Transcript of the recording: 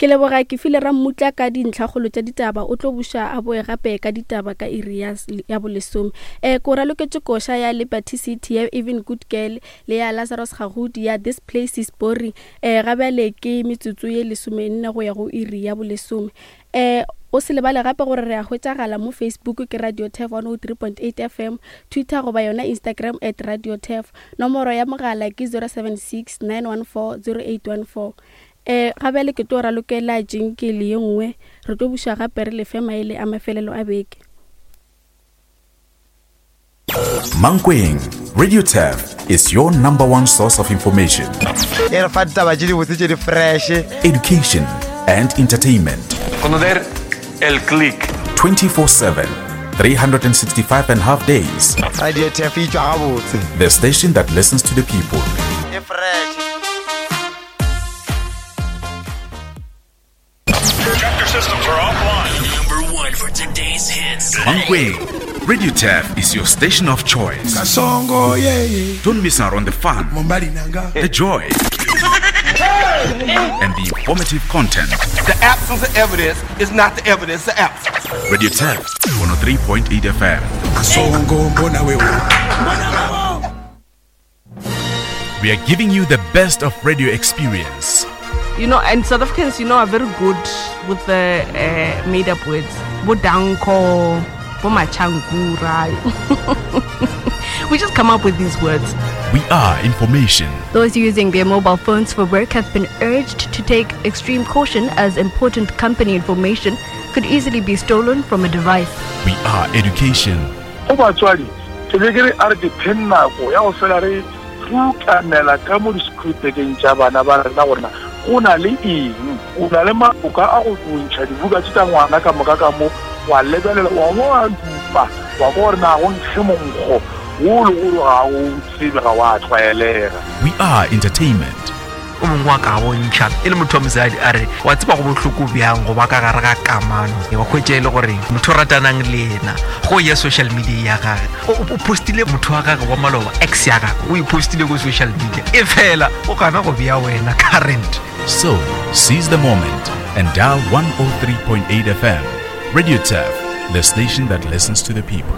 Ke leboga ke file Rammutla ka dintlhakgolo tša ditaba, o tlo buša a boe gape ka ditaba ka iri ya, ya bolesome. E, ko raloketše koša ya Liberty City ya Even Good Girl le ya Lazarus Gagudi ya This Place Is Boring. E, ga bjale ke metsotso ye lesomenne go ya go iri ya bolesome. E, o se lebale gape gore re a hwetšagala mo Facebook ke Radio Turf 103.8 FM, Twitter goba yona Instagram at Radio Turf. Nomoro ya mogala ke 076 914 0814. E, ga bjale ke tlo ralokela jinkele ye nngwe, re tlo buša gape re lefe maele a mafelelo a beke. Mankweng, Radio Turf is your number one source of information. E re fa ditaba tše dibotse tše di fresh. Education and entertainment. Conocer el click. 24/7, 365 and half days. Radio Turf e tšwa gabotse. The station that listens to the people. E fresh. Chapter systems are offline. Number one for today's hits. Mankweng, Radio Turf is your station of choice. Kasongo, yeah, yeah. Don't miss out on the fun, the joy, and the informative content. The absence of evidence is not the evidence of absence. Radio Turf 103.8 FM. Kasongo, mbona wewe. We are giving you the best of radio experience. You know, and South Africans, you know, are very good with the uh, made up words. Bodanko, Bomachangura. we just come up with these words. We are information. Those using their mobile phones for work have been urged to take extreme caution as important company information could easily be stolen from a device. We are education. Go batswadi, ke be ke re a re ke pheng nako ya go fela re rukanela ka mo disekhurupekeng tša bana ba rena gore na go na le eng. O na le maloka a go ntšha dibuka tše tša ngwana ka moka ka mo, wa lebelela, wa bo wa dupa, wa kwa gore na go nkge monkgo wo le gore ga o tsebe, ga wa tlwaelega. We are entertainment. O mongwe wa ka bontšha e le motho wa mosadi a re wa tseba go bohloko bjang go ba ka gare ga kamano wa hwetša e le gore motho o ratanang le yena go ya social media ya gage o postile motho wa gage wa maloba ex ya gage o e postile ko social media e fela o gana go bea wena current. So, seize the moment and dial 103.8 FM. Radio Turf, the station that listens to the people.